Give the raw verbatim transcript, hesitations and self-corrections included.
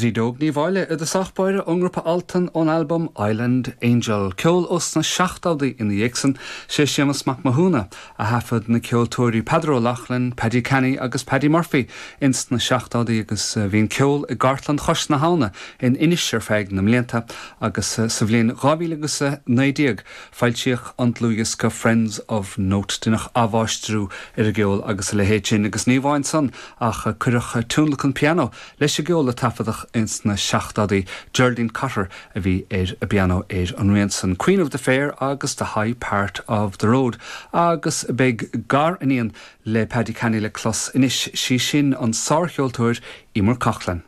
Brídóg Ní Bháile i dtosach báire ón ngrúpa Altan ón albam Island Angel. Ceol ós na seachtóidí ina dhiaidh san sé Séamus Mac Mathúna a thaifead na ceoltóirí Peadar Ó Lochlainn, Paddy Canny agus Paddy Murphy ins na seachtóidí agus eh, bhí an ceol i gcartlann Chois na hAbhna in Inis ar feadh na mblianta agus eh, sa bhliain dhá mhíle agus naoi déag foilsíodh an dlúthdhiosca Friends of Note deineadh athmháistriú ar an gceol agus a leithéid sin agus ní amháin san ach cuireadh tionlacan pianó leis an gceol a taifeadadh ins na seachtóidí Geraldine Cotter a bhí ar an bpianó ar an rian san Queen of the Fair agus the High Part of the Road agus beidh gariníon le Paddy Canny le clos anois sí sin an sárcheoltóir Emer Coughlan.